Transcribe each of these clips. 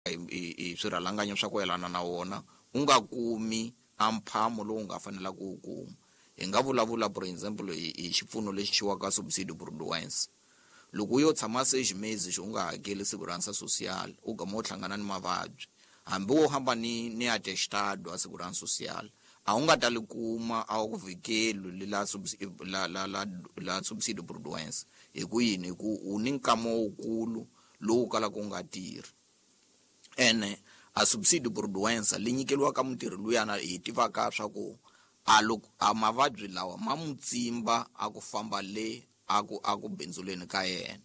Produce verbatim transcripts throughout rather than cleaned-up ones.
hi hi swirhalanganyi swa ku yelana na wona u nga kumi a mphamo lowu nga fanela ku wu kuma. Hi nga vulavula for example hi hi xipfuno lexi xiwaka subsidio por doença. Loko u yo tshama seis meses u nga hakeli segurança social, u gama u hlangana ni mavabyi, hambi wo hamba ni ni atestado a segurança social, a wu nga ta li kuma a wu ku vhikeli la la la la la subsidio por doença. Hi ku yini? Hi ku u ni nkama wukulu lowu kalaka u nga tirhi. Ene a subsidio por doença li nyikeliwaka mutirhi luyana hi tivaka swa ku a loko a mavabyi lawa ma mu tsimba a ku famba le a ku a ku bindzuleni ka yena.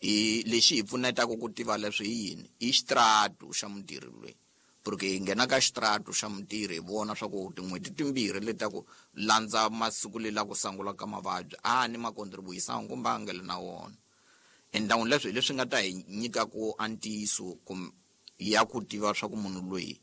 I lexi hi pfunetaka ku tiva leswi hi yini? I xitratu xa mutirhi loyi, porque hi nghena ka xitratu xa mutirhi hi vona swa ku tin'hweti timbirhi leti ta ku landza masiku le la ku sungula ka mavabyi a ni ma contribution kumbe a nga le na wona. Endhawu leswi hi leswi nga ta hi nyika ku a ntiyiso ya ku tiva swa ku munhu loyi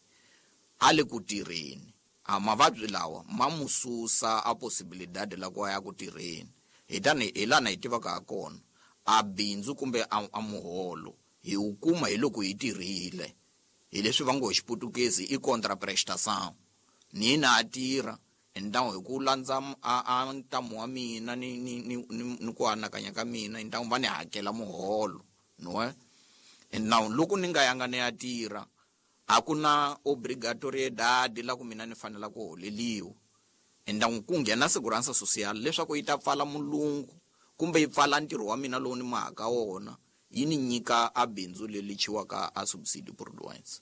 a le ku tirheni, a mavabyi lawa ma mu susa a possibilidade la ku ya ku tirheni. Hi tani hi lana hi tivaka ha kona a bindzu kumbe a, a muholo hi wu kuma hi loko hi tirhile. Hi leswi va ngo hi xiputukezi i contraprestação. Ni na a tirha endhawu hi ku landza a, a ntamu wa mina ni ni ni ni ku anakanya ka mina, endhawu va ni hakela muholo no eh endhawu loko ni nga yanga ni ya tirha a ku na obrigatoriedade la ku mina ni fanela ku holeliwa. Endhawu ku nghena segurança social leswaku yi ta pfala mulungu kumbe yi pfala ntirho wa mina lowu ni mahaka wona, yi ni nyika a bindzu leri chiwaka a subsidio por doença.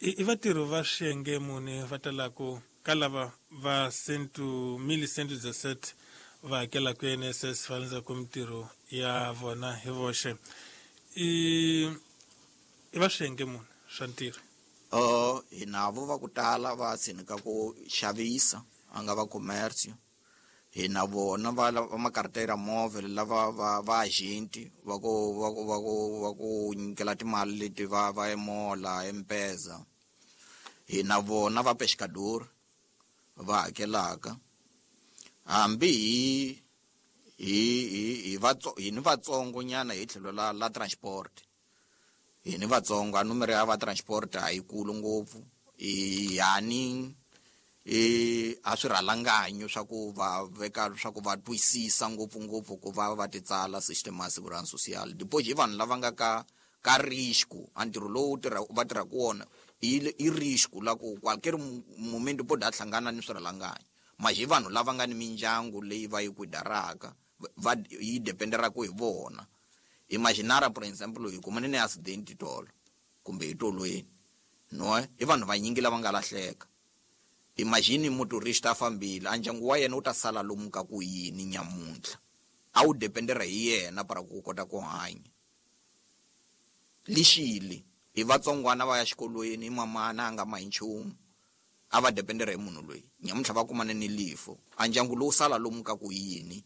I vatirhi va xiyenge muni va talaku ka lava va cento mille cento dezessete va hakelaka I N S S va landzaku mintirho ya vona hi voxe? I i va xiyenge muni swa ntirho? Uh, hi navo va ku tala va tshinika ku xavisa a nga va commercio. Hi na vona va va makartera móvel lava va va agenti va ku va ku va ku va ku nyikela timali leti va va emola M-Pesa. Hi na vona va pescador va hakelaka. Hambi hi hi hi hi va hi ni vatsongo nyana hi tlhelo la la transport. Hi ni vatsongo a numero ya va transport a yi kulu ngopfu. I yani e a swirhalanganyo swa ku va veka swa ku va twisisa ngopfu ngopfu ku va va ti tsala system ya segurança social. Depois hi vanhu lava nga ka ka risco, a ntirho lowu tirha va tirhaka wona i i risco la ku qualquer momento pode a hlangana ni swirhalanganyo. Mas hi vanhu lava nga ni mindyangu leyi va yi kuidaraka, va yi dependeraka hi vona. Imaginara por exemple hi kumane ni accident tolo kumbe hi tolweni, no i vanhu vanyingi lava nga lahleka. Imagine motorista a fambile, a ndyangu wa yena wu ta sala lomu ka ku yini nyamuntlha? A wu dependera hi yena para ku kota ku hanya. Lixile hi vatsongwana va ya xikolweni, hi mamana a nga mahi nchumu, a va dependera hi munhu loyi. Nyamuntlha va kumane ni lifo, a ndyangu lowu sala lomu ka ku yini?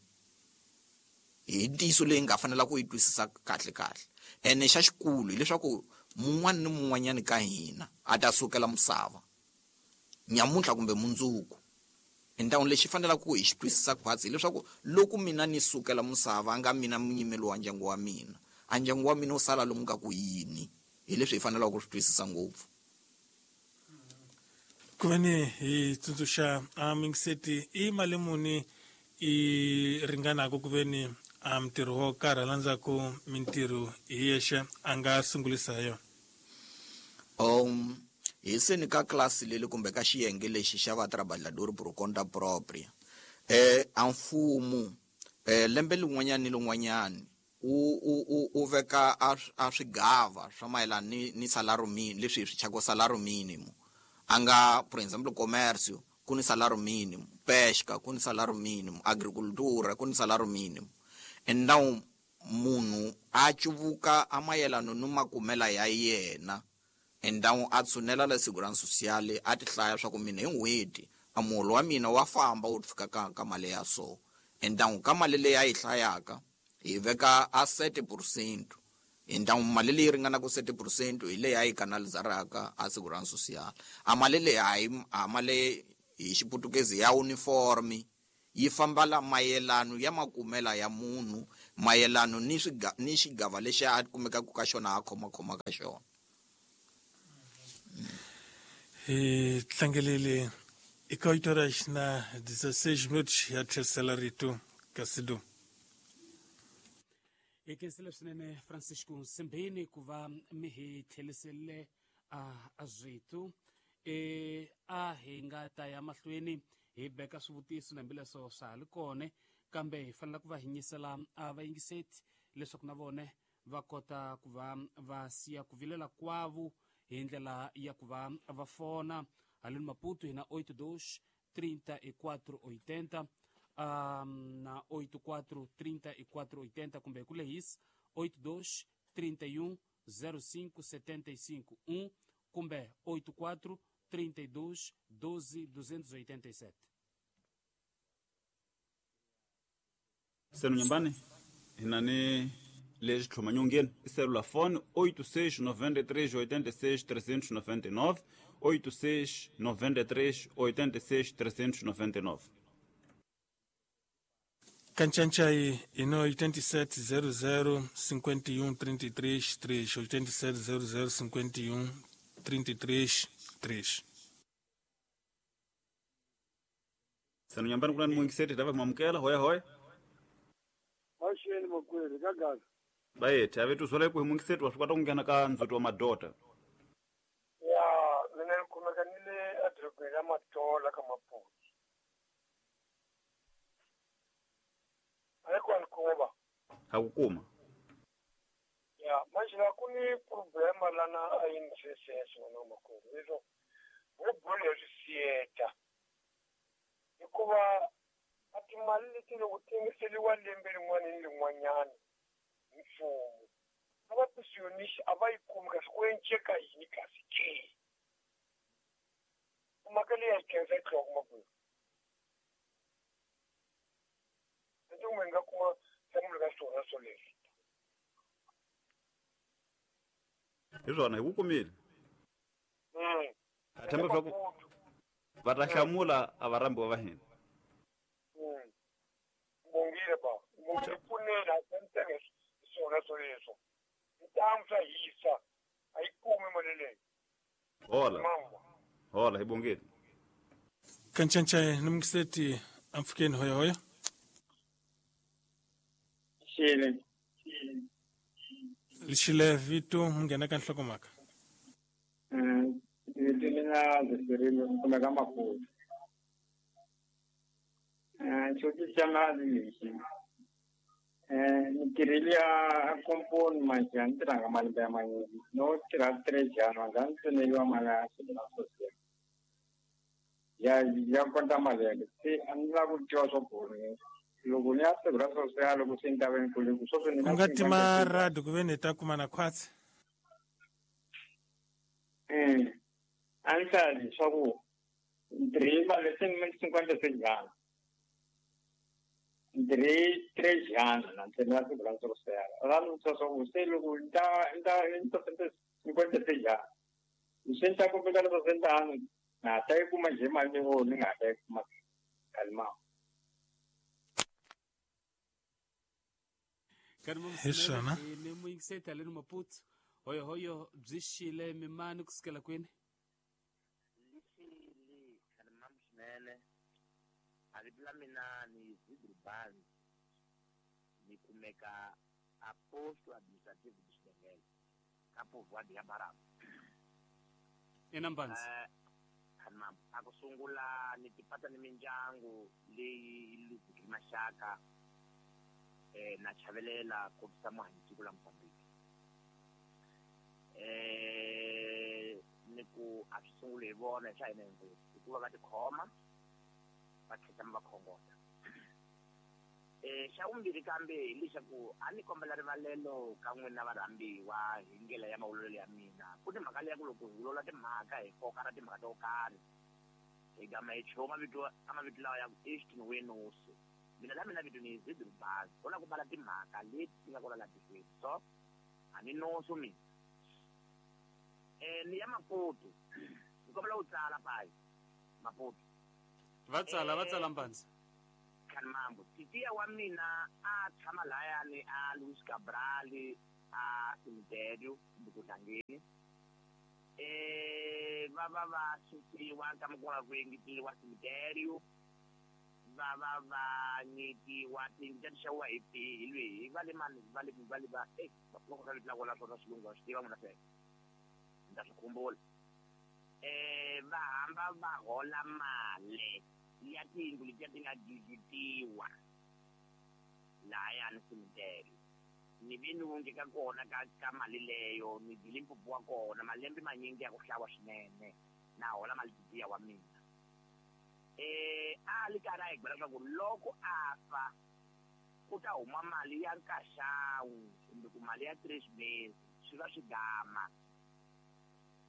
Hi ntiyiso leyi nga fanela ku yi twisisa kahle kahle. Ene xa xikulu hileswaku mun'wana ni mun'wanyani ka hina a ta sukela misava nyamuntlha kumbe mundzuku. Endhawini lexi fanelaka ku hi xi twisisa khwatsi hileswaku loko mina ni sukela misava nga mina munyimeli wa ndyangu wa mina, a ndyangu wa mina wu sala lomu ka ku yini? Hi leswi hi fanelaka ku swi twisisa ngopfu. Ku ve ni hi tsundzuxa a mingiseti i mali muni i ringanaka ku ve ni a mintirho wo karhi a landzaku mintirho hi yexe a nga sungulisa yona? Um, hi seni ka klasi leli kumbe ka xiyenge lexi xa va trabalhador por conta própria, eh, a mfumo, eh, lembe lin'wanyani ni lin'wanyani u, u, u, u veka a, a swigava swa mayelana ni, ni salario mínimo, leswi hi swi thyaka salario mínimo. A nga, por exemple, comércio ku ni salario mínimo, pesca ku ni salario mínimo, agricultura ku ni salario mínimo. And now munhu a cuvuka a mayelana ni makumela ya yena, endhawu a tshunela la segurança social a ti hlaya swa ku mina hi n'hweti a muholo wa mina wa famba wu fika ka, ka mali ya so. Endhawu ka mali leyi a yi hlayaka hi veka a sete percent. Endhawu mali leyi ringanaka sete percent hi leyi a yi kanalizaraka a segurança social. A mali leyi a yi, a mali hi xiputukezi ya uniforme yi famba la mayelano ya makumela ya munhu mayelano ni swiga ni xigava lexi a kumekaka ka xona a khoma khoma ka xona. Hi tlangelele eka oito horas na dezesseis minutos ya tlherisela rito ka Sidu. Hi khensile swinene Francisco Nsimbini ku va mi hi tlherisele a switu. E a hi nga ta ya mahlweni hi beka swivutiso na hambileswo swa ha ri kona, kambe hi fanele ku va hi nyisela a vayingiseti leswaku na vona va kota ku va va siya ku vilela kwavo hi ndlela ya ku va va fona haleni Maputo hi na oito dois trinta e quatro oitenta um, na oito quatro trinta e quatro oitenta kumbe hi ku lehisa oito dois trinta e um zero cinco setenta e cinco um kumbe oito quatro trinta e dois doze duzentos e oitenta e sete. Senu nyumbani hinani lexi tlhomanyongeni i selulafoni oito seis noventa e três oitenta e seis trezentos e noventa e nove oito seis noventa e três oitenta e seis trezentos e noventa e nove. Canchanchay ino oitenta e sete zero zero cinquenta e um trinta e três três oitenta e sete zero zero cinquenta e um trinta e três três. Senu nyumbani kuna ni mwingiseti tava kumamukela hoya hoya. Maxeni makweri ka gaza. Bayethe ave tuzole ku hi mwingiseti wa swi kota ku nghena ka ndzhuti wa madota. Ya mina ni kumeka ni le edorobeni ra Matola ka Maputo. A yi kona kuma ba. Ha ku kuma. Ya manje la ku ni problema lana a yi ni sese wena makwerhu leswo wo bolo ya swisiyeta hikuva a timali leti loko ti engeteriwa lembe rin'wana ni rin'wanyana hi mfumo a va pensionist a va yi kumi kasi ku enceka yini kasi ke mhaka leyi a yi khensa yi tlhela kuma kwihi ndzi kumbe nga kuma nhlamulo ka swona swoleswo. Hi swona hi ku kumile. Ha themba leswaku va ta hlamula a va rhambiwa va hina. Bongile ba bongile pfunela a swona swoleswo ntamu swa hisa a yi kumi mali leyi. Hola hola hi bongile. Kanchanchay ni mwingiseti amfukeni hoya hoya. Xile lixile vito munghena ka nhlokomhaka. Vito mina Zefirilo ni kumeka Maputo. Xivutiso xa mali lexi ni tirhile ya komponi manje a ni tirhanga malembe ya manyingi no tirha three jana nga ni tsoneliwa mali ya swilo social ya ya konta mali yale se a ni lava ku tiva swa ku loko ni ya siku ra social loko se ni ta va ni kule ku sweswi ni u nga tima radio ku ve ni ta kuma na khwatsi. A ni hlaya leswaku ni tirhile mali se ni cinquenta sejana ni três anos na ntsena siku ra social ra ni vutisa swa ku se loko ni ta ni ta ni ta cinquenta seis anos se ni ta kumeka leswo se ni ta na ta yi kuma njhe mali leyi ni nga ta yi kuma kalimama. Hi swona ni muyingiseti haleni Maputo hoyo hoyo byi xile mimani kusukela kwini. Lixile kalimama swinene. A vito la mina ni Zidri Banzi ni kumeka a posto administrative de Xidengele ka povoado ya Barama. Ina Mbanzi. Kalimama a ku sungula ni tipata ni mindyangu leyi luzeke maxaka eh na chavelela kombisa muhanyisiko la Mozambique. Eh ni ku a swi sungule hi vona swa hina hinkwenu hikuva va tikhoma va tlhela va khongota. Eh xa vumbirhi kambe hi leswaku a ni kombela rivalelo ka n'wina varhambiwa hi ndlela ya mavulelo ya mina. Ku ni mhaka leya ku loko hi vulavula timhaka hi koka ra timhaka to karhi hi gama hi chuha mavito a mavito lawa ya ku Easton Wenosi. Mina la mina vito ni Zidri Bazi ko la ku bala timhaka leti ti nga kona la tikweni so a ni noso mina. Eh ni ya Maputo ni kombela u tsala payi Maputo va tsala va tsala Mbanzi. Khanimambo titiya wa mina a tshama layani a Luis Cabral a cemitério kumbe ku tlangeni eh va va va susiwa ka mukona ku engeteliwa cemitério va va va nyikiwa tiyindlu ta xaviwa hi hi lweyi va le mani va le va le va eh loko ka le la swona xilungu wa swi tiva n'wina sweswo ni ta swi khumbula eh va hamba va hola mali ya tiyindlu letiya ti nga digitiwa lahayani cemitério ni ve ni wonge ka kona ka ka mali leyo ni dyile mpfupu wa kona malembe manyingi ya ku hlawa swinene na hola mali titiya wa mina eh a li karhi a hi byela leswaku loko a fa ku ta huma mali ya nkaxawu kumbe ku mali ya three mesi swi va swi gama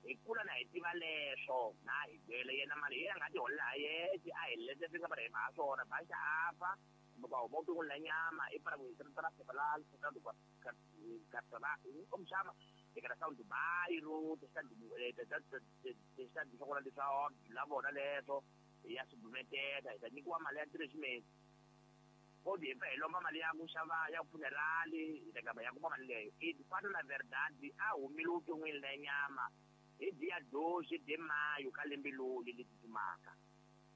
hi kula na hi tiva leswo na hi byele yena mali yena a nga ti holela ha yexe a hi lete swi nga va hi ha swona baxa a fa kumbe ku huma vuton'wini la nyama i para ku hi tirhisa phepha la como chama declaração do bairro testado swa kona leswa la vona leswo hi ya submeteta hi ta nyikiwa mali ya three mesi kodi hi pfa hi lomba mali ya ku xava ya funerali hi ta gamba ya kuma mali leyo i fana na verdade a humile vuton'wini la nyama hi dia doze de maio ka lembe loli leri tsutsumaka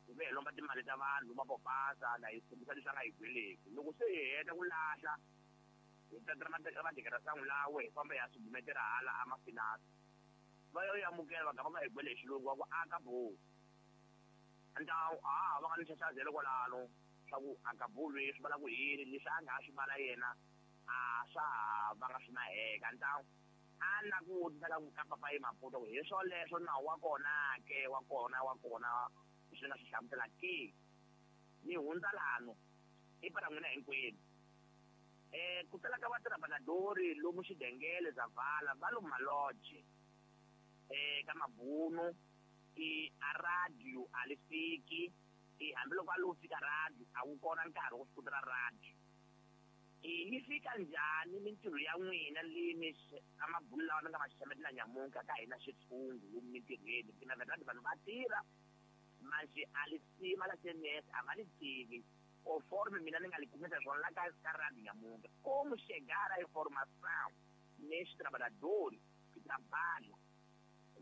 hi ve hi lomba timali ta vanhu va popasa na hi tshembisa leswi a nga hi gweleki loko se hi heta ku lahla hi tatela madekerasangu lawe hi famba hi ya subumetela hala a mafinasi va yo amukela va gamba va hi gwele hi xilungu va ku aka bo então a va nga ni xaxazelo kwalano swa ku acabou leswi va la ku yini leswi a nga ha swi vala yena a swa ha va nga swi na heka então a na ku vutisa ka ka papa yi Maputo ku hi swoleswo nawu wa kona ke wa kona wa kona leswi nga swi hlamusela ke ni hundza lano i para n'wina hinkwenu eh ku tala ka vatirhabanadori lomu xidengele Zavala va lomu malodge eh ka mabunu i a radio a li fiki i hambiloko a lo fika radio a wu kona nkarhi wo swi kotela radio i yi fika njhani mintirho ya n'wina leyi mi a mabulu lawa mi nga ma xaxametela nyamuntlha ka hina xitshungu lomu mintirhweni mina verdade vanhu va tirha manje a li sima la C N S a va li tivi conforme mina ni nga li kumisa swona la ka ka radio nyamuntlha como chegar a informação neste trabalhador que trabalha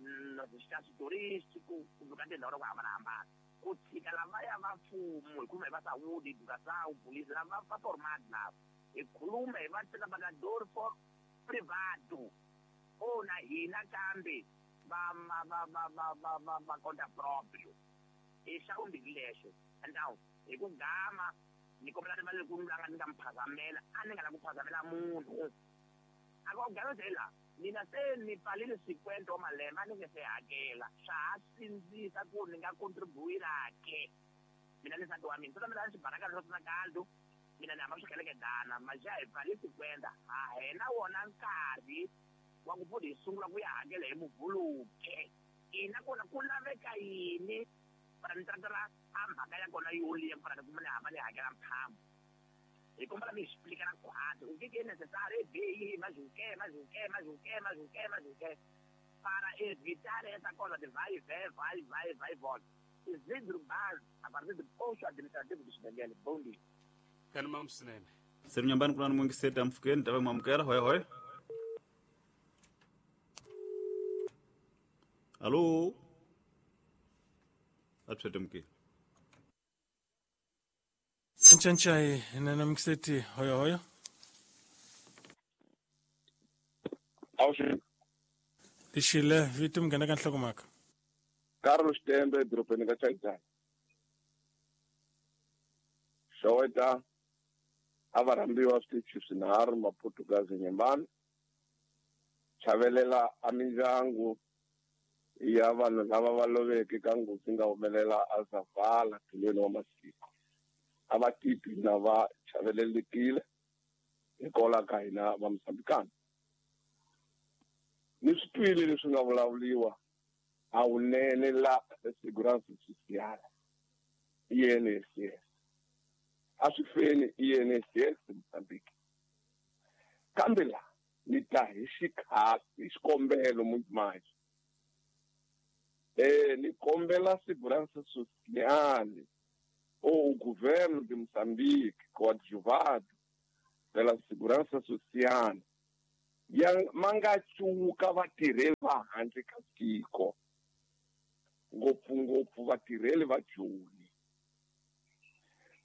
nos espaços turísticos kumbe ka tindhawu ta ku hambanahambana ku tshika lavaya va mfumo hi khuluma hi va saúde educação polícia lava va formado lava hi khuluma hi va trabalhador for privado ou na hina kambe va va va va va va va va conta próprio i xa vumbirhi lexo então hi ku gama ni kombela rivalelo ku langa ni nga mi phazamela a ni nga la ku phazamela munhu a ku gamezela mina se ni pfalile cinquenta wa malembe a ni nge se hakela swa ha sindzisa ku ni nga contribuira ke mina ni nsati wa mina swi mina ni xibaraka swa swi kaldo mina ni hamba swikelekedana maxa hi pfale cinquenta ha hena wona nkarhi wa ku futhi hi sungula ku ya hakela hi muvhuluke ina kona ku laveka yini para ni tratela a mhaka ya kona yo liya para ni kuma ni hamba ni hakela mphambo hi kombela mi explicar quatro o que que é necessário é B I, mais o quê, mais o quê, mais o quê, mais o quê, mais o quê, para evitar essa coisa de vai e vem, vai, vai, vai e volta. Isidro Baz, a partir do posto administrativo de Xidengele. Bom dia. Kani mamsinene. Seri nyumbani kuna ni mwingi seta mfukeni, tawe mwamukela, hoi hoi. Alo. Atwete mkile. Nchanchai nana mkiseti hoyo hoyo. Awushi. Lishile vitu mgana kan hlokomaka. Carlos Tembe dropeni ka Chaitanya. Showeta avarambiwa switichi swinharhu Maputugazi nyumbani. Chavelela a mindyangu ya vanhu lava va loveke ka nghozi nga humelela a Zavala tlhelweni wa masiko. A va titwi na va chavelelekile hikwalaho ka hina va Mozambikana. Ni swi twile leswi nga vulavuriwa a wunene la Segurança Social I N S S a swi feni I N S S Mozambique kambe la ni ta hi xikhasi hi xikombelo manje eh ni kombela Segurança Social ou o governo de Moçambique, coadjuvado pela Segurança Social, ya mangachuka vatirheli va handle ka tiko, ngopfungopfu vatirheli va Joni,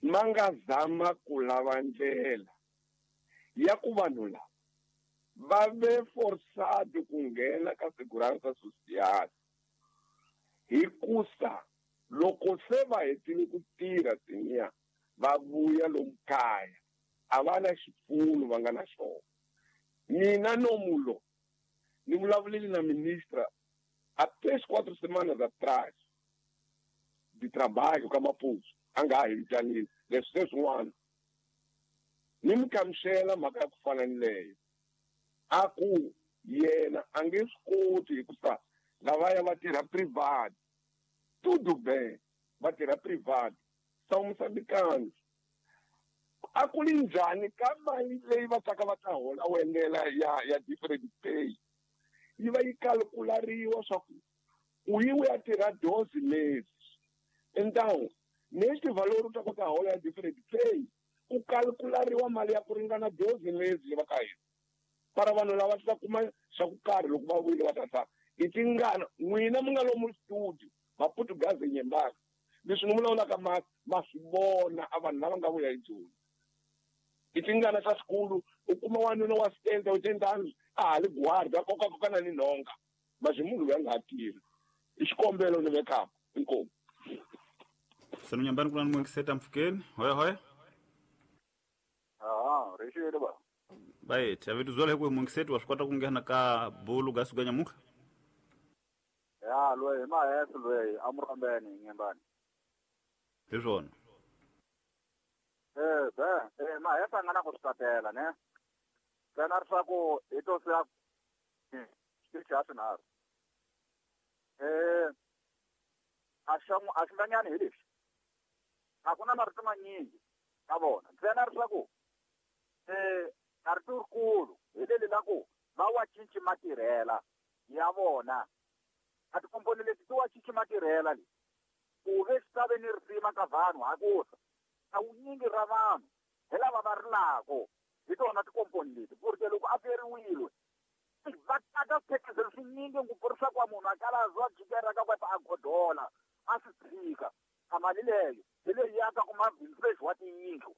ma nga zama ku lava ndlela ya ku vanhu lava va ve forçado ku nghena ka Segurança Social, hikusa loko se va hetile ku tirha tiniya va vuya lomu kaya a va na xipfuno va nga na xona. Mina nomulo ni vulavulile na ministra há três, quatro semanas atrás de trabalho ka Maputo, a nga ha hi vitanile leswi se swin'wana ni mi kamuxela mhaka ya ku fana ni leyo, a ku yena a nge swi koti hikusa lavaya va tirha private, tudo bem, va tirha private, são moçambicanos. A ku li njhani ka mali leyi va taka va ta hola wendela ya ya different pay yi va yi kalkulariwa swa ku u yi u ya tirha doze meses, então neste valor u ta kota hola ya different pay ku kalkulariwa mali ya ku ringana doze meses leyi va ka hina. Para vanhu lava ta kuma swa ku karhi loko va vuyile va ta sala i tingana n'wina mi nga lomu studio Maputugazi nyembaka leswi ni vulavulaka ma ma swi vona a vanhu lava nga vuya hi Joni. I tingana ta xikulu u kuma wanuna wa setenta oitenta anos a ha li guarda a kokakokana ni nhonga mas munhu loyi a nga ha tirhi. I xikombelo ni vekaka inkomu. Senu nyambani kuna nimwekiseta mfukeni hoya hoya. Ah, rixile ba. Right, a vitu zola hikuwa mwekiseti wa swi kota ku nghena ka bulu ga suganya muka. Ya, loyi ma yesu loyi a murambeni nyambani. Hi swona. Eh, be, eh ma yesu a nga na ku swi tatela ne. Ntsena leswaku hi to siya xitichi xa swinharhu. Eh, a xa a xi nganyani hi lexi. A ku na marito manyingi ka vona. Ntsena leswaku eh a rito rikulu hi leli la ku va wa cinci matirhela ya vona. A tikomponi leti ti wa cinci matirhela leti. Ku ve swi ta ve ni risima ka vanhu hakusa. A wunyingi ra vanhu hi lava va rilako hi tona tikomponi leti. Porque loko a feriwile va tata swiphekizelo swinyingi ngopfu leswaku munhu a kala a jikela ka kwata a godola a swi tshika. A mali leyo hi leyi ya ka kuma vintage wa tiyindlu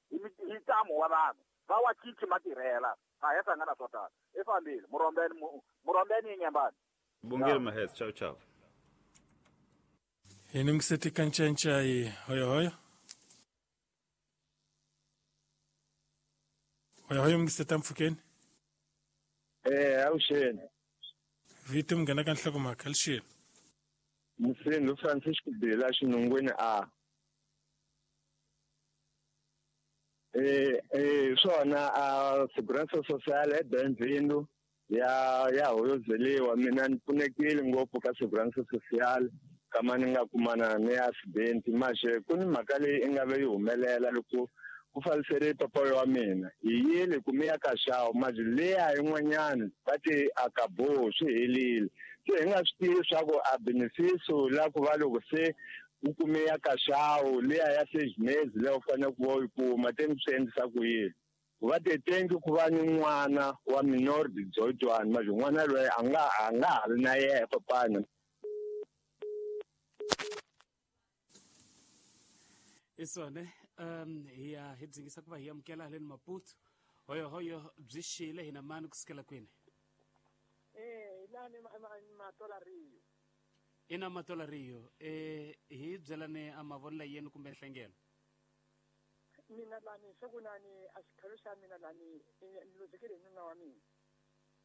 hi hi ntamu wa vanhu va wa cinci matirhela a ya hlangana swo tala. I fambile murombeni murombeni nyambani. Bongile Mahes, ciao ciao. Hi ni mkiseti kanchanchay hoyo hoyo. Hoyo hoyo mkiseta mfukeni. Eh, awuxeni. Vito munghana ka nhlokomhaka lixini. Mfundhi Francisco Bela xinungwini a. Eh, eh swona a Segurança Social e bem-vindo ya ya hoyozeliwa mina ni pfunekile ngopfu ka Segurança Social kama ni nga kumana ni accident maxe ku ni mhaka leyi i nga ve yi humelela loko ku falisele papa wa mina hi yile ku mi ya ka xawu maje leya yin'wanyana va ti akabo swi helile se hi nga swi tivi swa ku a beneficio la ku va loko se u kume ya ka xawu leya ya seis meses leyi u fanele ku va u yi kuma te ni swi endlisa ku yini va te tengi ku va ni n'wana wa minor de dezoito anos maje n'wana loyi a nga a nga ha ri na yena papana. Isone um hi ya hi dzingisa ku va hi amukela haleni Maputo hoyo hoyo byi xile hina mani kusukela kwini? Eh lani Matola Rio. Ina Matola Rio eh hi byelane a mavonelo yenu kumbe nhlengelo. Mina lani sokunani a xikhalo xa mina lani ni luzekile hi nuna wa mina.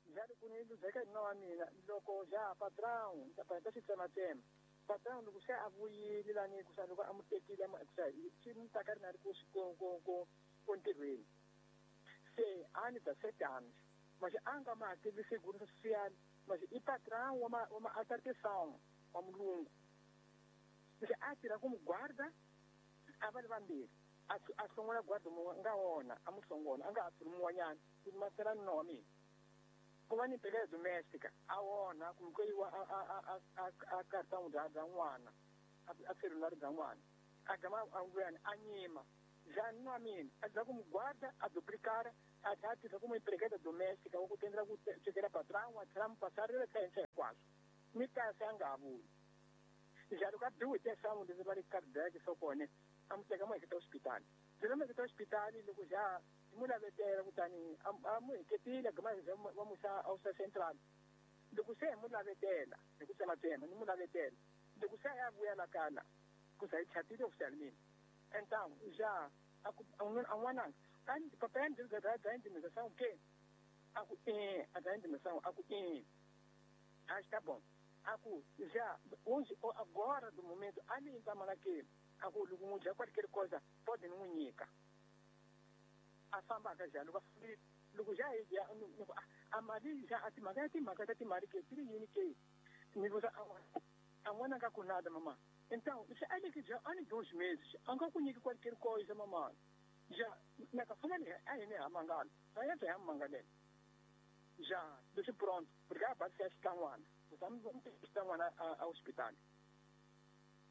Njhani ku ni luzeka hi nuna wa mina loko ja patrão ta ta xi tsematsema. Patrão loko se a vuyile lani ku sa loko a mu tekile ku sa swi mu taka ri na ri ku ku ku ku ntirhweni. Se a ni dezessete anos mas a nga ma hakeli seguro social mas i patrão wa ma wa ma atarteção wa mulungu. Se a tirha ku mu guarda a va ri vambirhi. A a hlongola guarda mu nga wona a mu hlongola a nga ha thuli mun'wanyana ku masela nuna wa mina. Ku va ni empregada doméstica a wona ku ku yiwa a a a a a cartão da da n'wana a celular da n'wana A gama a luyani a nyima. Já nuna wa mina a za ku mu guarda a duplicar a tlhela a tirhisa ku mu empregada doméstica wa ku tendela ku swekela patrão a tlhela mu passarile tlhela henhla hinkwaswo mi kasi a nga ha vuyi. Já loko a biwe hi leswi va ri cardiac swo kona a mu teka mu heketa hospitali. Byela mu heketa hospitali loko já mu lavetela kutani a mu heketile gama va mu yisa a central. Loko se hi mu lavetela hi ku tsematsema ni mu lavetela loko se a ya vuya la kala ku sa yi chatile official mina. Então já a n'wananga papai ya ndzi da indenização que a ku e a da indenização a ku e ah está bom a ku já hoje agora do momento ali em Malaki a ku loko mu dya qualquer coisa pode ni n'wi nyika a fambaka já loko loko já hi dya a mali já a timhaka ya timhaka ta timali ke ti ri yini ke ni vusa a n'wananga ku nada mama. Então, se ele que já há dois meses, a nga ku nyiki qualquer coisa mama. Já na ka fanele a hi ni ha mangala. A ya ha mangalele. Já, deixa pronto, porque a base é xikan'wana. Kutani xikan'wana a hospital.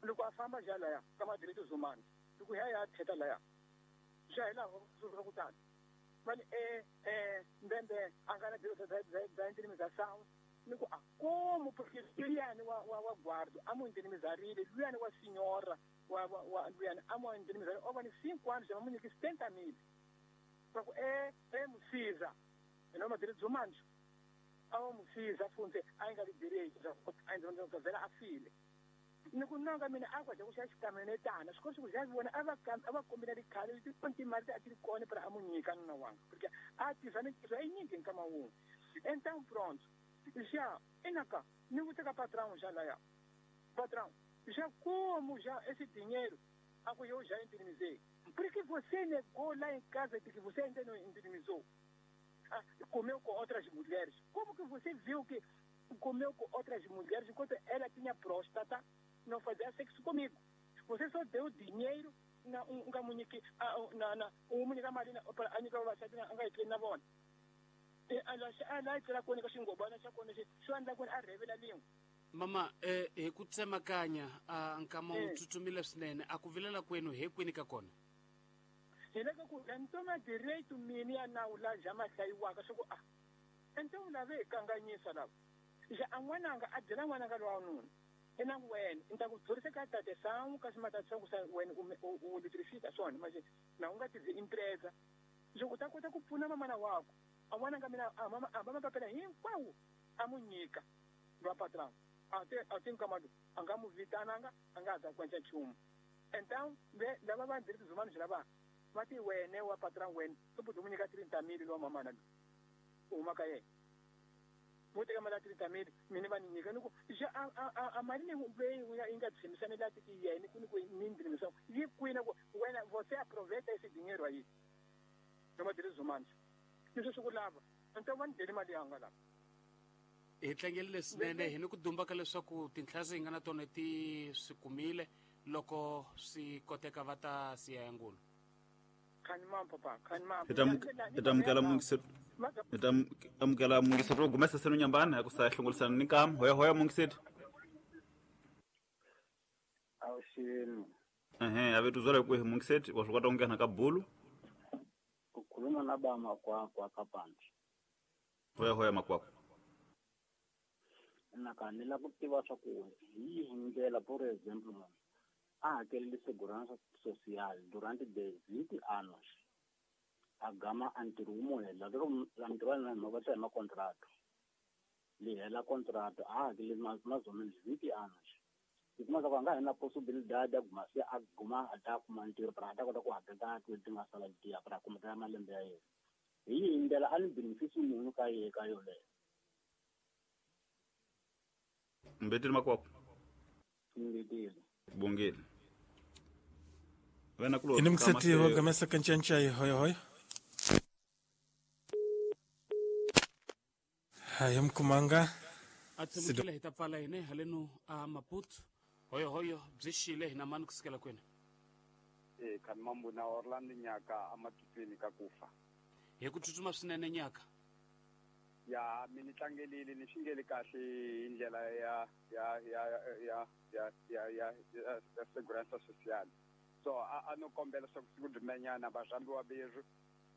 Loko a famba já laya ka ma-direitos humanos. Loko ya ya theta laya. Já hi laha ku tani. Vani e e mbembe a nga na direito da indenização. Ni ku a como porque luyani wa wa wa guardo a mu indenizarile luyani wa senhora wa wa luyani a mu indenizarile o va ni cinco anos já mu nyike setenta mil. Va ku e e musiza eno ma direitos humanos a mu musiza funtse a nga li direito a ndzi vela a file. Ni ku nanga mina a kwa ku xa xikaminetana swi koti ku xa vona a va a va kombela rikhale leti timali a ti ri kona para a mu nyika nuna wanga porque a tiva ni swa yinyingi nkama wun'we. Então pronto. Já, enaka, ni vou ter patrão já lá. Patrão, já como já esse dinheiro, a eu já indenizei. Por que você negou lá em casa de que você ainda não indenizou? Ah, comeu com outras mulheres. Como que você viu que comeu com outras mulheres enquanto ela tinha próstata, não fazia sexo comigo? Você só deu dinheiro na um na na um marina para a nika na bona. Mama eh hi ku tsemakanya a nkama wu tsutsumile swinene a ku vilela kwenu he kwini ka kona hi le ka ku ntoma direito mini ya nawu la ja ma hlayiwaka swa ku a ento lave hi kanganyisa lava ja a n'wananga a byela n'wananga lowa nuna ina wena ni ta ku dzurisa ka tate sangu kasi matatisa ku sa wena u litrifika swona manje na u nga tizi empresa loko u ta kota ku pfuna mamana wako a n'wananga mina a mama a mama papela hinkwawo a mu nyika va patrão a te a te nkamado a nga mu vitananga a nga za kwenca nchumu. Então ve lava va direitos humanos lava va ti wene wa patrão wena u mu nyika trinta mil lowa mamana u huma ka yena mu teka mali ya trinta mil mina va ni nyika ni ku ja a a a mali leyi yi nga tshembisana la ti yena ku ni ku ni ndzi yi kwina ku wena você aproveita esse dinheiro aí noma direitos humanos leswi swi ku lava então va ni deli mali yanga lava. Hi tlangerile swinene hi ni ku dumbaka leswaku tinhlazi hi nga na tona ti swi kumile loko swi koteka va ta siya ya ngulu. Hi ta amukela hi ta amukela mungiseti ro gumesa senu nyambana hi ku sa hlongolisana ni nkama hoya hoya mungiseti. Awuxini. Ehe a vetu zwala kwihi mungiseti wa swi kota ku nghena ka bulu. Ukhuluma na ba Makwakwa kapandi. Hoya hoya Makwakwa. Naka ni lava ku tiva swa ku hi yihi ndlela por exemplo munhu a hakelele segurança social durante vinte anos a gama a ntirho wu mu hela lero ntirho wa yena va hi makontrato li hela contrato a hakele mais ou menos vinte anos i kuma swa ku a nga ha na possibilidade ya guma se a guma a ta kuma ntirho para a ta kota ku hakela ti nga sala letiya para kuma ta malembe ya yena hi yihi ndlela a ni benefisi munhu ka yehe ka yoleyo. Mbetile Makwakwa. Mbetile. Bongile. Wena kulo. Ini mkuseti wa gamesa kanchanchai hoya hoya. Haya mkumanga. Atsemukile hi ta pfala hine haleno a Maputo. Hoyo hoyo byi xile hina mani kusukela kwini. Eh kan mambo na Orlando nyaka amatutweni ka kufa. Hi ku tsutsuma swinene nyaka. Ya mina tlangelile ni xingeli kahle hi ndlela ya ya ya ya ya ya ya ya segurança social. So a a no kombela swa ku siku dumenyana va rhambiwa berhu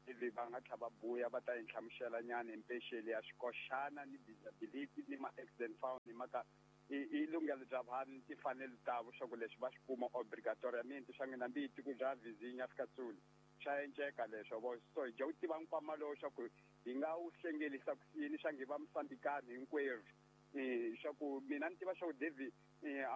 ivi va nga tlha va buya va ta hi nhlamusela nyana impexeli ya xikoxana ni disability ni ma-accident fund hi mhaka i i lunghelo bya vanhu timfanelo ta vo swa ku leswi va swi kuma obligatoriamente swa n'wina mbi tiko bya vizinya fika tsuli swa enceka leswo vo so hi dya ku tiva nkwama lowu swa ku hi nga wu hlengelisa ku yini swa ngi va musambikani hinkwerhu swa ku mina ni tiva swa ku David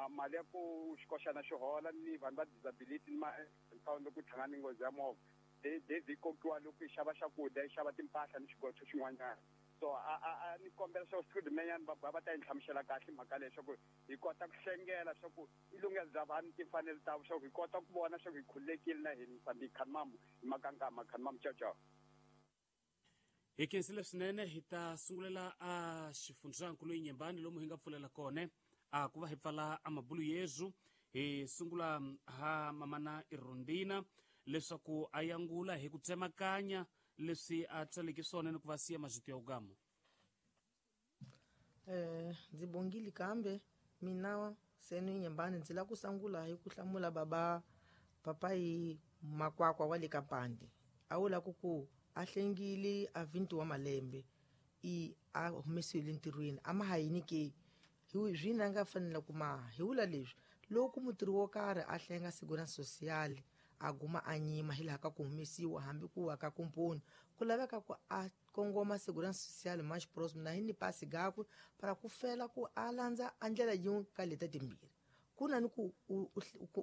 mali ya ku xikoxana xi hola ni vanhu va disability ni ma-account loko tlhangana ni nghozi ya movha David kokiwa loko yi xava swakudya yi xava timpahla ni xigotho xin'wanyana. So a a a ni kombela swa ku siku va va ta hi nhlamusela kahle mhaka leyi swa ku hi kota ku hlengela swa ku i lunghelo bya vanhu timfanelo ta swa ku hi kota ku vona swa ku hi khululekile na hina Mozambique khanimamu hi makankama khanimamu ciao ciao. Hi khensile swinene hi ta sungulela a xifundzankulu Inhambane lomu hi nga pfulela kona a ku va hi pfala a mabulu yezu hi sungula ha mamana Irondina leswaku a yangula hi ku tsemakanya leswi a tsaleke swona ni ku va siya mazito ya ugamo. Eh ndzi bongile kambe mina senu Inhambane ndzi la ku sungula hi ku hlamula baba papai Makwakwa wa le Kapande a wula ku ku a hlengile a vinti wa malembe i a humesiwile ntirhweni a ma ha yini ke hi zwina nga fanela ku ma hi wula leswi loko mutirhi wo karhi a hlenga segurança social a guma a nyima hi laha ka ku humesiwa hambi ku wa ka komponi ku laveka ku a kongoma segurança social mais próximo na hi ni pasi gakwe para ku fela ku a landza a ndlela yin'we ka leta timbirhi ku na ni ku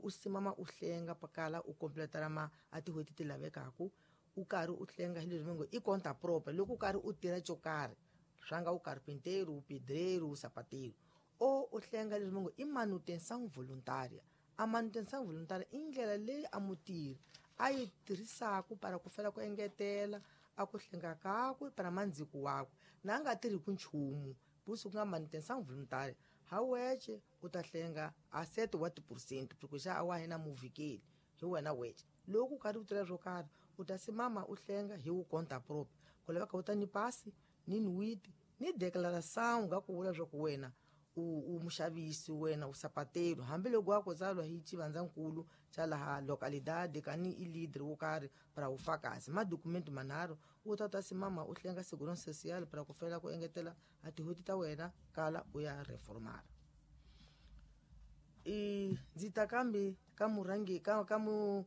u simama u hlenga pakala u completara ma a tin'hweti ti lavekaku u karhi u hlenga hi leswi ngo i conta própria loko u karhi u tirha xo karhi swa nga u carpinteiro u pedreiro u sapateiro o u hlenga leswi ngo i manutenção voluntária. A manutenção voluntária i ndlela leyi a mutirhi a yi tirhisaka para ku fela ku engetela a ku hlenga kakwe para mandziko wakwe na a nga tirhi ku nchumu busi ku nga manutenção voluntária ha weche u ta hlenga a sete wa tiphesente porque xa a wa hina muvikeli hi wena weche loko u karhi u tirha swo karhi u ta simama u hlenga hi wu conta própria ku laveka u ta ni pasi ni nwiti ni declaração nga ku vula swa ku wena u u muxavisi wena u sapateiro hambiloko wa ku tsalwa hi xivandzankulu xa laha localidade kani i leader wo karhi para ufakazi madokumenti manharhu u ta ta simama u hlenga segurança social para ku fela ku engetela a tin'hweti ta wena kala u ya reformara. I ndzi ta kambe ka murhangi ka ka mu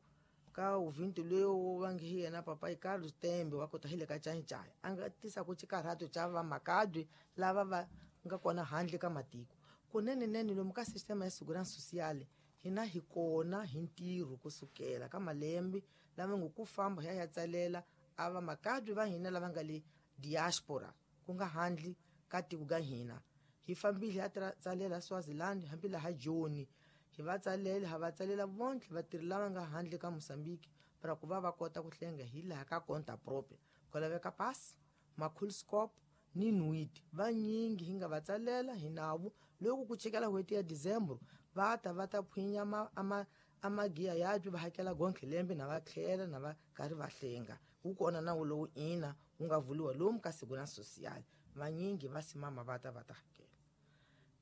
ka uvinti loyi wa nge hi yena papai Carlos Tembe wa kota hi le ka Cancaya a nga tisa ku xikarhato xa vamakabye lava va nga kona handle ka matiko kunene nene lomu ka sistema ya segurança social hina hi kona hi ntirho kusukela ka malembe lama ngo ku famba hi ya ya tsalela a vamakabye va hina lava nga le diaspora ku nga handle ka tiko ka hina hi fambile hi tsalela Swaziland hambi laha Joni hi va tsalela ha va tsalela vonke vatirhi lava nga handle ka Mozambique para ku va va kota ku hlenga hi laha ka conta própria ku laveka pasi makhulscope ni nwiti vanyingi hi nga va tsalela hi navo loko ku chekela n'hweti ya December va ta va ta phwinya ama ama amagiya yabyo va hakela gonke lembe na va tlhela na va karhi va hlenga wu kona nawu lowu ina wu nga vuliwa lomu ka segurança social vanyingi va simama va ta va ta hakela.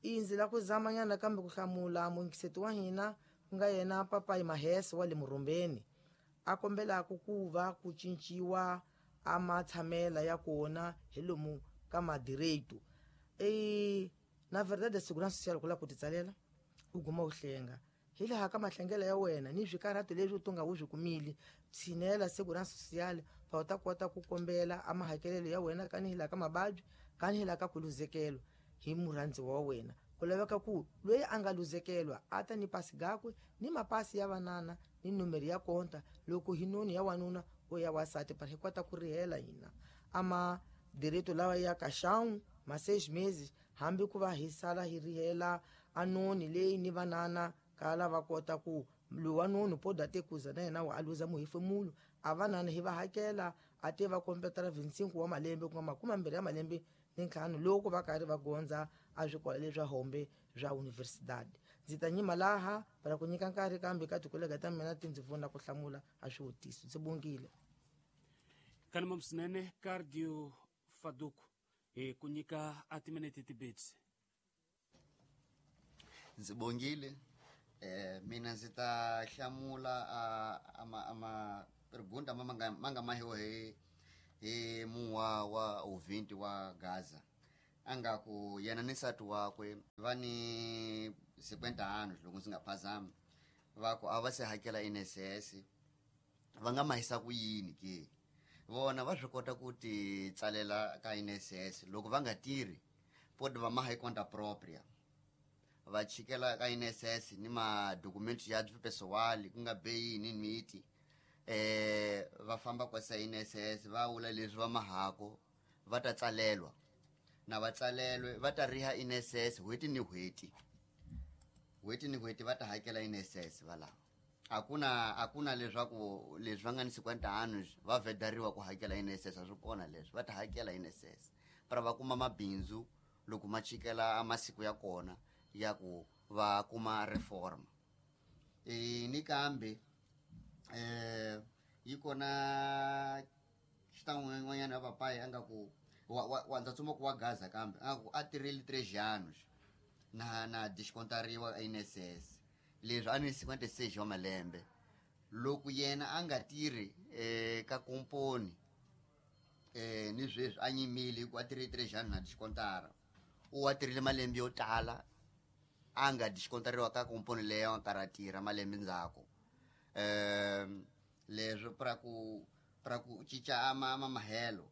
Indzi la ku zamanyana kambe ku hlamula mungiseti wa hina ku nga yena papai Mahese wa le Murumbeni a kombelaka ku va ku cinciwa a matshamela ya kona hi lomu ka madireito e na verdade segurança social ku la ku titsalela u guma u hlenga hi laha ka mahlengela ya wena ni swikarhato leswi u tunga u swi kumile tshinela segurança social pa u ta kota ku kombela a mahakelelo ya wena kani hi laha ka mababyi kani hi laha ka ku luzekelo hi murhandzi wa wena ku laveka ku loyi a nga luzekelwa a ta ni pasi gakwe ni mapasi ya vanana ni nomero ya konta loko hi noni ya wanuna o ya wasati para hi kota ku rihela hina ama direito lawa ya kaxão ma seis meses hambi ku va hi sala hi rihela a noni leyi ni vanana kala va kota ku lowa noni poda te kuza na yena wa a luza muhefemulo a vanana hi va hakela a te va kompletara vinte e cinco wa malembe ku nga makume mambirhi ya malembe ni ntlhanu loko va karhi va gondza a swikolo leswa hombe swa universidade. Ndzi ta nyima laha para ku nyika nkarhi kambe ka tikolega ta mina ti ndzi pfuna ku hlamula a swivutiso. Ndzi bongile kanima swinene Cardio Faduku hi ku nyika a timinete tibetsi. Ndzi bongile Eh mina ndzi ta hlamula a ama ama pergunta ma nga ma nga mahiwa hi hi muwa wa ouvinte wa Gaza. Anga ku yena ni nsati wakwe va ni cinquenta anos loko ndzi nga phazami, va ku a va se hakela I N S S, va nga mahisa ku yini ke? Vona va swi kota ku ti tsalela ka I N S S loko va nga tirhi, pode va maha hi conta própria, va chikela ka I N S S ni madokumenti ya pessoal ku nga beyi ni miti, eh va famba kwasa I N S S va vula leswi va mahako, va ta tsalelwa na va tsalelwe va ta riha I N S S n'hweti ni n'hweti, n'hweti ni n'hweti va ta hakela I N S S valava. Akuna akuna leswaku leswi va nga ni cinquenta anos va vedariwa ku hakela I N S S, a swi kona leswi va ta hakela I N S S para va kuma mabindzu loko ma chikela a masiku ya kona ya ku va kuma reforma. E ni kambe eh yi kona xitan'wanyana ya papai a nga ku wa, wa, wa ndza tsumba ku wa Gaza kambe a ku a tirhile três anos na na descontariwa I N S S leswi a ni cinquenta e seis wa malembe. Loko yena a nga tirhi eh ka komponi eh ni sweswi a nyimile ku a tirhile três anos na descontara, u wa tirhile malembe yo tala a nga descontariwa ka komponi leyo a karhi a tirha malembe ndzhaku. Eh leswi pra ku pra ku cinca ama ama mahelo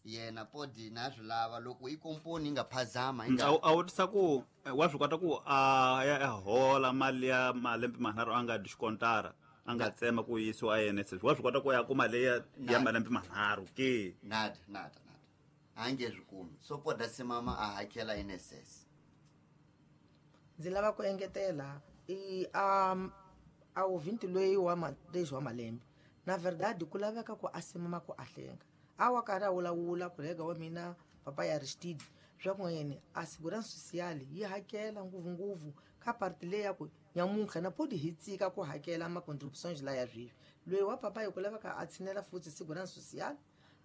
yena podi na swi lava loko i komponi yi nga phazama yi nga A wu tisa ku wa swi kota ku a ya a hola mali ya malembe manharhu a nga descontara, a nga tsema ku yisiwa I N S S, wa swi kota ku ya kuma leyi ya Nada. malembe manharhu ke? Nada, nada, nada, a nge swi kumi, so poda simama a hakela I N S S. Ndzi lava ku engetela i um a ouvinte loyi wa ma três wa malembe, na verdade ku laveka ku a simama ku a hlenga. A wa karhi a vulavula kolega wa mina papa ya Aristide swa ku yena a segurança social yi hakela ngopfungopfu ka parti leyi ya ku nyamuntlha na podi hi tsika ku hakela ma contributions la ya sweswi. Loyi wa papa yi ku laveka a tshinela futhi segurança social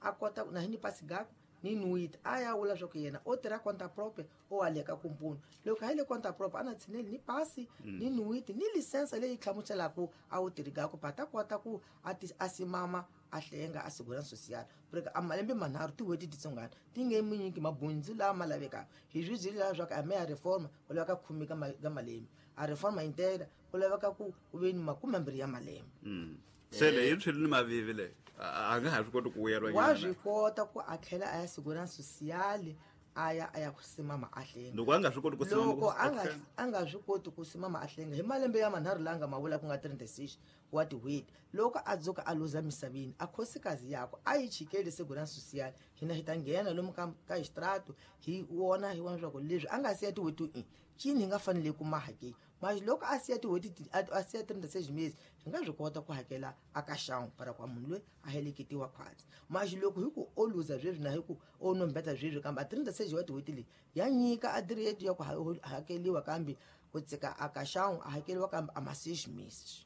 a kota na hi ni pasi gaku ni nuit a ya vula swa ku yena o tirha conta própria o aleka komponi. Loko a yi le conta própria a na tshineli ni pasi Mm. ni nuit ni lisensa leyi hlamuselaka a wu tirhi gaku pa ta kota ku a ti a simama a hlenga a segurança social porque a malembe manharhu tin'hweti titsongana ti nge mi nyiki mabundzu lama lavekaka. Hi swi byeli laha swa ku a me ya reforma ku laveka khume ka ma-, ka malembe, a reforma integra ku laveka ku ku ve ni makume mambirhi ya malembe. Mm. Se leyi yi tshwile ni mavivi leyi a, a nga ha swi koti ku vuyeriwa Wa nyana. swi kota ku a tlhela a ya segurança social a ya a ya ku simama a hlenga. Loko a nga swi koti ku simama Loko ku a nga a hlenga. a nga swi koti ku simama a hlenga hi malembe ya manharhu laha nga ma vula ku nga trinta e seis wa tin'hweti, loko a dzuka a luza misaveni a khosikazi yakwe a yi chikeli segurança social, hina hi ta nghena lomu ka, ka extrato hi vona hi vona leswaku leswi a nga siya tin'hweti i cini hi nga fanele ku ma hakeli. Mas loko a siya tin'hweti ti-, a, a siya trinta e seis meses hi nga swi kota ku hakela a ka xangu para kwa munhu loyi a heleketiwa khwatsi. Mas loko hi ku o luza sweswi na hi ku o nombeta sweswi kambe a trinta e seis wa tin'hweti leyi ya nyika a direito ya ku ha-, hakeliwa kambe ku tsika a ka xangu a hakeliwa kambe a ma seis meses.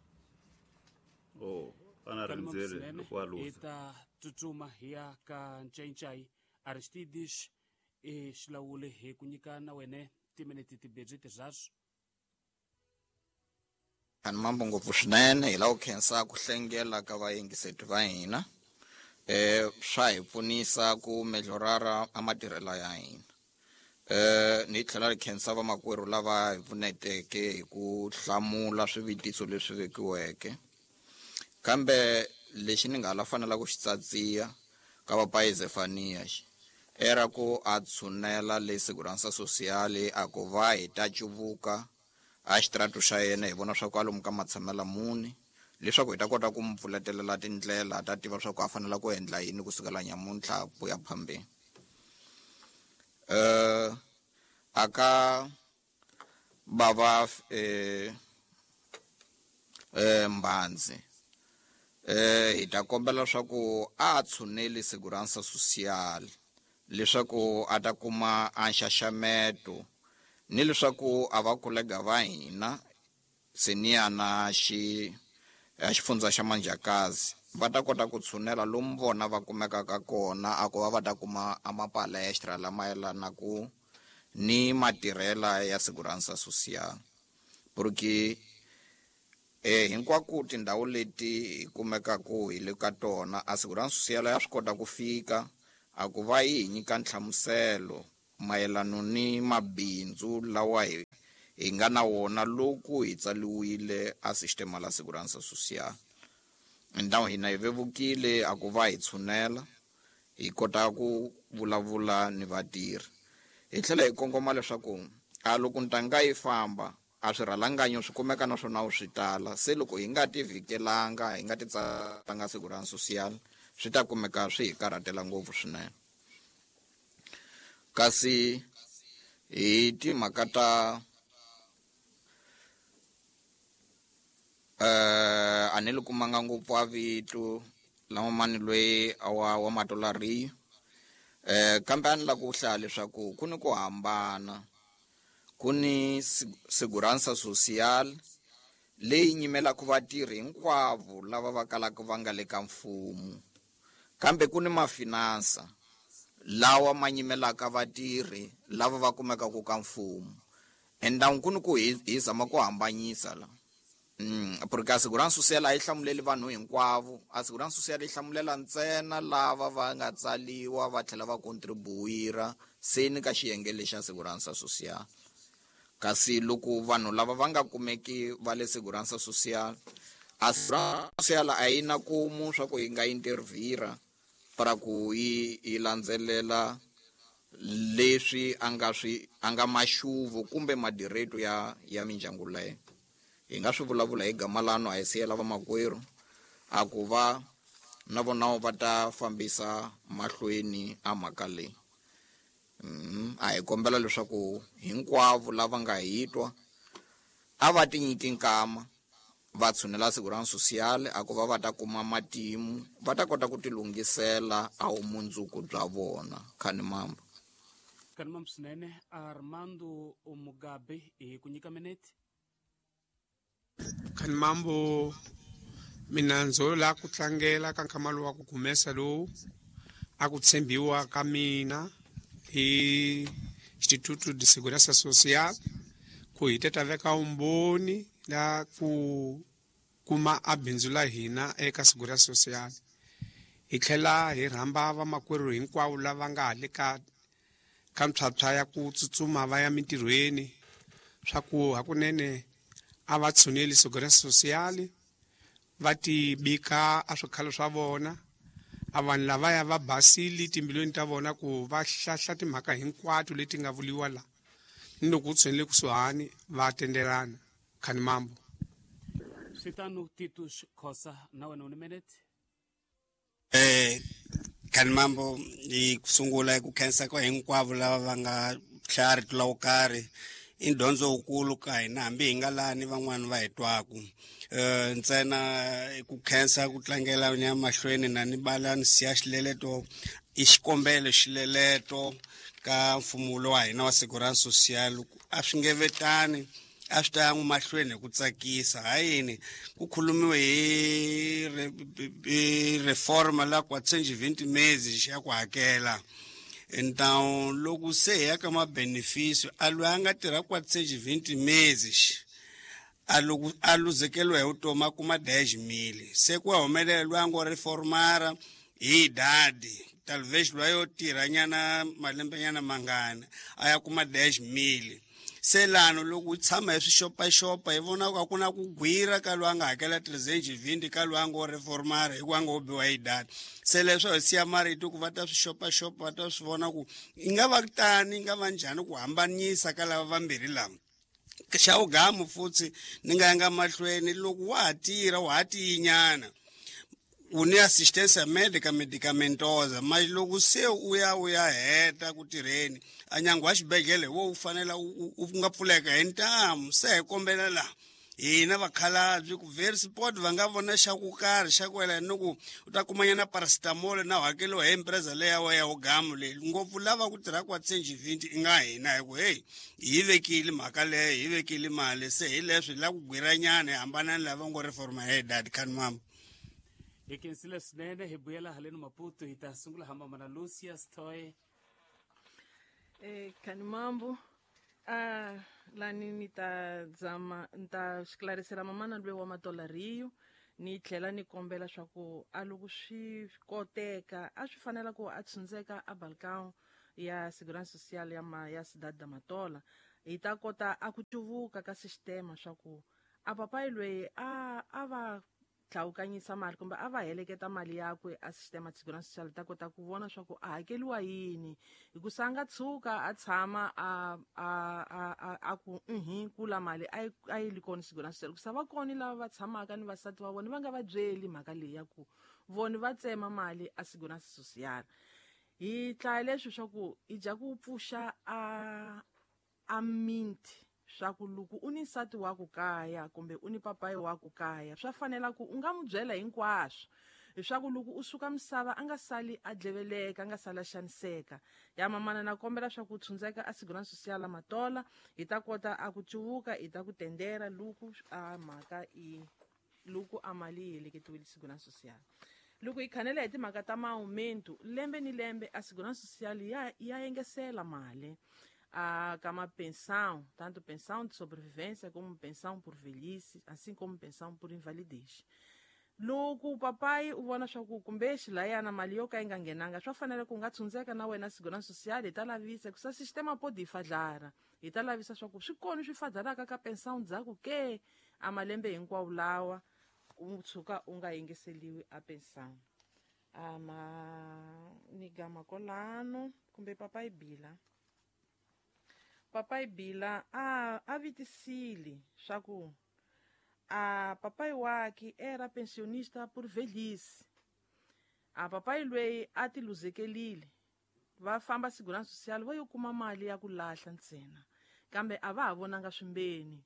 Oh, a na Kalima rindzele Msinene, loko a luza. hi ta tsutsuma hi ya ka Ncayincayi Aristides e xilawuli hi ku nyika na wene timinete timbirhi tirharu. Ani mambo ngopfu swinene hi lava ku khensa ku hlengela ka vayingiseti va hina. Eh swa hi pfunisa ku melhorara a matirhelo ya hina. Eh ni tlhela ri khensa vamakwerhu lava hi pfuneteke hi ku hlamula swivutiso leswi vekiweke. Kambe lexi ni nga la fanela ku xi tsatsiya ka papai Zefania xi era ku a tshunela le Segurança Social a ku va hi ta cuvuka a xitratu xa yena hi vona swa ku alomu ka matshamela muni leswaku hi ta kota ku mu pfuletelela tindlela ta tiva swa ku a fanela ku endla yini kusukela nyamuntlha ku ya phambeni. Eh aka bava eh eh Mbandzi eh hi ta kombela swa ku a tshuneli Segurança Social leswaku a ta kuma a nxaxameto ni leswaku a va kolega va hina Seniana xi ya xifundza xa Manjakazi va ta kota ku tshunela lomu vona va kumekaka kona a ku va va ta kuma a mapalestra lama yelanaka ni matirhela ya Segurança Social. Porque Eh hinkwako tindhawu leti hi kumekaka hi le ka tona a Segurança Social ya swi kota ku fika a ku va yi hi nyika nhlamuselo mayelana ni mabindzu lawa hi hi nga na wona loko hi tsaliwile a sistema la Segurança Social. Ndhawu hina hi vevukile a ku va hi tshunela hi kota ku vulavula ni vatirhi. Hi tlhela hi kongoma leswaku a loko ntanga yi famba a swirhalanganyo swi kumeka naswona wu swi tala, se loko hi nga ti vhikelanga hi nga ti tsalanga Segurança Social swi ta kumeka swi hi karhatela ngopfu swinene. Kasi hi timhaka ta eh a ni li kumanga ngopfu a vito lama mani loyi wa wa matolari eh kambe a ni la ku hlaya leswaku ku ni ku hambana, ku ni Segurança Social leyi nyimelaka vatirhi hinkwavo lava va kalaka va nga le ka mfumo, kambe ku ni mafinansa lawa ma nyimelaka vatirhi lava va kumekaka ka mfumo. Enda ku ni ku hi hi zama ku hambanyisa la. Mm, porque a Segurança Social a yi hlamuleli vanhu hinkwavo, a Segurança Social yi hlamulela ntsena lava va nga tsaliwa va tlhela va contribuira se ni ka xiyenge lexa Segurança Social. Kasi loko vanhu lava va nga kumeki va le Segurança Social, a Segurança Social a yi na kumu swa ku yi nga intervira para ku yi yi landzelela leswi a nga swi a nga maxuvu kumbe madireto ya ya mindyangu leyo. Hi nga swi vulavula hi gama lano a hi siyela vamakwerhu a ku va na vona va ta fambisa mahlweni a mhaka leyi. Mm, a hi kombela leswaku hinkwavo lava nga hi twa a va ti nyiki nkama va tshunela Segurança Social a ku va va ta kuma matimu va ta kota ku ti lunghisela a vumundzuku bya vona. Khanimambo. Khanimambo swinene. Armando Mugabe hi ku nyika minete. Khanimambo, mina ndzo la ku tlangela ka nkamalo wa ku kumesa lowu a ku tshembiwa ka mina hi Instituto de Segurança Social ku hi teta veka umboni la ku kuma a bindzu la hina eka Segurança Social. Hi tlhela hi rhamba vamakwerhu hinkwavo lava nga le ka ka mphyaphyya ya ku tsutsuma va ya mintirhweni swa ku hakunene a va tshuneli Segurança Social va ti bika a swikhalo swa vona, a vanhu lavaya va basile timbilwini ta vona ku va hlahla timhaka hinkwato leti nga vuliwa la ni loko u tshunele kusuhani va tendelana. Khanimambo. Switano Titus Khosa na wena u ni minute. Eh Khanimambo, hi ku sungula hi ku khensa ka hinkwavo lava va nga hlaya rito la wo karhi i dyondzo wukulu ka hina hambi hi nga lani van'wani va hi twaku. Eh ntsena ku khensa ku tlangela ni ya mahlweni na ni bala ni siya xileleto i xikombelo xileleto ka mfumo lowa hina wa Segurança Social a swi nge vetani a swi ta ya mahlweni hi ku tsakisa. Hayini ku khulumiwe hi reforma la quatrocentos e vinte meses ya ku hakela. Então loko se hi ya ka ma-benefício a loyi a nga tirha quatrocentos e vinte meses a loko a luzekeriwa hi vutomi a kuma dez mil, se ku humelela loyi a ngo reformara hi idade talvez loyi yo tirha nyana malembenyana mangani a ya kuma dez mil. Se lano loko u tshama hi swixopaxopa hi vona ku a ku na ku gwira ka loyi a nga hakela trezentos e vinte ka loyi a ngo reformara hikuva a ngo biwa hi data. Se leswo hi siya marito ku va ta swi xopaxopa va ta swi vona ku yi nga va tani yi nga va njhani ku hambanyisa ka lava vambirhi lava. Xa vugamu futhi ni nga yanga mahlweni loko wa ha tirha wa ha tiyinyana u ni assistência médica medicamentosa, mas loko se u ya u ya heta ku tirheni a nyango wa xibedhlele wo wu fanela u nga pfuleka hi ntamu. Se hi kombela laha hina vakhalabye ku very sport va nga vona xa ku karhi xa ku yelana ni ku u ta kumanyana paracetamol na hakeliwa hi empresa leya wa ya wugamu leyi ngopfu lava ku tirha quatrocentos e vinte i nga hina hi ku hey hi vekile mhaka leyo hi vekile mali se hi leswi hi lava ku gwiranyana hi hambana ni lava ngo reforma hi dad. Khanimambo. Hi khensile swinene. Hi vuyela haleni Maputo hi ta sungula hamba mana Lucia Stoy. Eh Khanimambo, ah Lani ni ta zama ni ta esclarecer mamana lwe wa Matola Rio ni tlhela ni kombela swa ku a loko swi koteka a swi fanela ku a tshundzeka a balcão ya Segurança Social ya ma ya Cidade da Matola hi ta kota a ku cuvuka ka sistema swa ku a papai lweyi a a va tlhawukanyisa mali kumbe a va heleketa mali yakwe a sistema de segurança social ta kota ku vona swa ku a hakeliwa yini hikusa a nga tshuka a tshama a a a a ku mhm kula mali a yi a yi li kona segurança social hikusa va kona lava va tshamaka ni vasati va vona va nga va byeli mhaka leyi ya ku vona va tsema mali a segurança social hi tlaya leswi swa ku i dya ku pfuxa a a minti swa ku loko u ni nsati wa ku kaya kumbe u ni papayi wa ku kaya swa fanela ku u nga n'wi byela hinkwaswo leswaku loko u suka misava a nga sali a dleveleka a nga sali a xaniseka ya mamana na kombela swa ku tshundzeka a Segurança Social la Matola hi ta kota a ku cuvuka hi ta ku tendera loko a mhaka i loko a mali yi heleketiwile Segurança Social loko hi khanela hi timhaka ta maaumento lembe ni lembe a Segurança Social ya ya engesela mali a kama pensão, tanto pensão de sobrevivência como pensão por velhice, assim como pensão por invalidez. Loko papai u vona swa ku kumbe xilayana mali yo ka yi nga nghenanga swa fanela ku nga tshundzeka na wena Segurança Social hi ta lavisa ku sa sistema pode fadlara hi ta lavisa swa ku swi kona swi fadlaraka ka pensão ndzhaku ke a malembe hinkwawo lawa u tshuka u nga yingiseliwi a pensão ama ni gama kolano kumbe papai bila papai bila a a vitisile swa ku a papai wake era pensionista por velhice a papai lweyi a ti luzekelile va famba Segurança Social va yo kuma mali ya ku lahla ntsena kambe a va ha vonanga swimbeni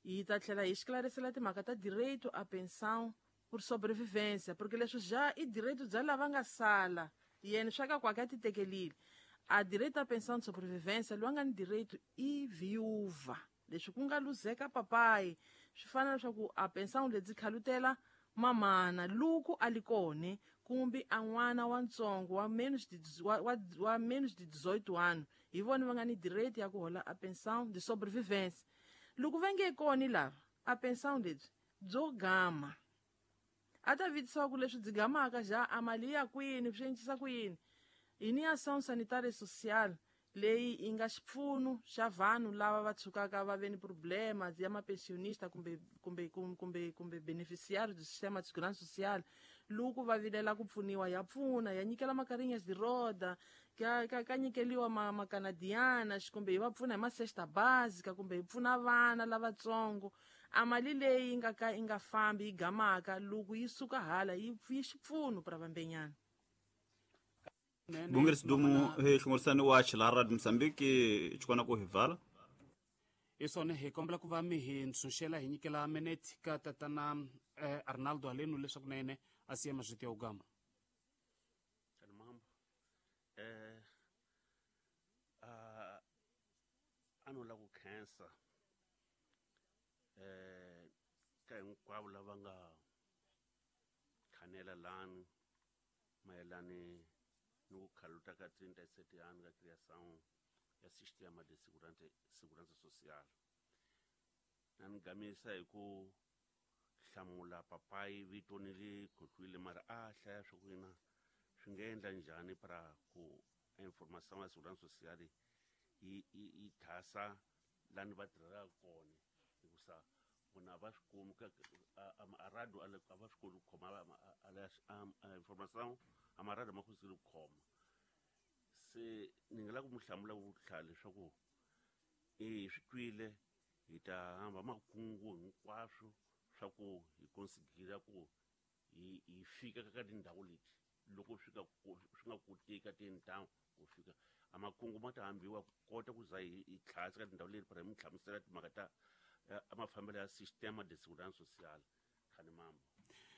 hi ta tlhela hi esclarecela timhaka ta direito a pensão por sobrevivência porque leswi ja i direito bya lava nga sala yena swa ka kwake a ti tekelile a direito à pensão de sobrevivência loyi a nga ni direito i viúva leswi ku nga luzeka papai swi fana leswaku a pensão lebyi khalutela mamana loko a li kone kumbe a n'wana wa ntsongo wa menos de wa, wa, wa menos de dezoito anos hi vona va nga ni direito ya ku hola a pensão de sobrevivência loko va nge koni lava a pensão lebyi byo gama a ta vitisiwa ku leswi byi gamaka ja a mali ya kwini swi encisa ku yini hi ni ação sanitária social leyi yi nga xipfuno xa vanhu lava va tshukaka va ve ni problema ya mapensionista kumbe kumbe kumbe kumbe beneficiário do sistema de segurança social loko va vilela ku pfuniwa ya pfuna ya nyikela makarinhas de roda ka ka ka nyikeliwa ma macanadiana kumbe yi va pfuna hi masexta básica kumbe yi pfuna vana lavatsongo a mali leyi yi nga ka yi nga fambi yi gamaka loko yi suka hala yi yi xipfuno pra vambenyana Bungeri dumu he hlongorisani wa Chilara Mozambique chikona ku hivala isone hi kombela ku va mi hi ntshunxela hi nyikela minute ka tatana eh, Arnaldo Aleno leswaku na yena a siya mazwiti ya ugama kana mambo eh a ano la ku khensa eh ka hinkwavo lava nga khanela lani mayelani ni ku khaluta ka trinta e sete anos ka criação ya sistema de segurança segurança social na ni gamisa hi ku hlamula papai vito ni ri khohlwile mara a hlaya swa ku yina swi nga endla njhani para ku informação ya segurança social yi yi yi thasa lani va tirhelaka kona hikusa vona a va swi kumi ka a radio a va swi koti ku khoma a informação a marada ma kosile ku khoma se ni nga lava ku mi hlamula vutlhari leswaku e swi twile hi ta hamba makungu hinkwaswo swa ku hi konsigira ku hi hi fika ka tindhawu leti loko swi ka swi nga koteki ka tindhawu ku fika a makungu ma ta hambiwa ku kota ku za hi hi tlhasa ka tindhawu leti para hi mi hlamusela timhaka ta a mafambelo ya sistema de segurança social khani mambo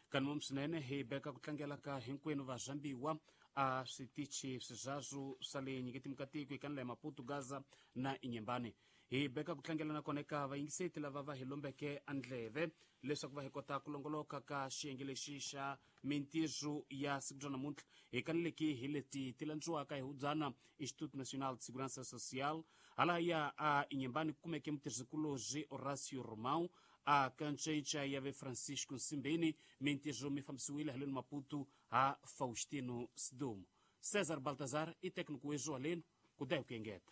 Kanmom swinene hi beka ku tlangela ka hinkwenu va Zambiwa a switichi swizazwu swa le nyiketi mukatiko eka ndlela ya Maputo Gaza na Inyembane hi beka ku tlangela nakona eka vayingiseti lava va hi lombeke andleve leswaku va hi kota ku longoloka ka xiyenge lexi xa mintirho ya siku ra namuntlha hi kaneleki hi leti ti landziwaka hi hubyana Instituto Nacional de Segurança Social Halaya a Inhambane kumeke mutirhisikulobye Horacio Romão a kancenca ya ve Francisco Nsimbeni mintirho mi fambisiwile haleni Maputo ha Faustino Sidumo. César Baltazar i técnico wezo haleni kudai ku engeta.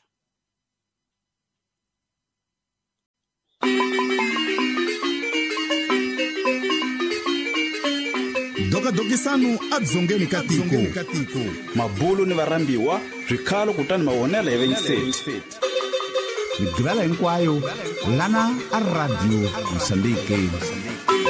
Dokadokisanu adzongeni katiko mabulu ni varambiwa swikhalo kutani mavonelo ya venyiseti migivela hinkwayo lana a Radio Mozambique.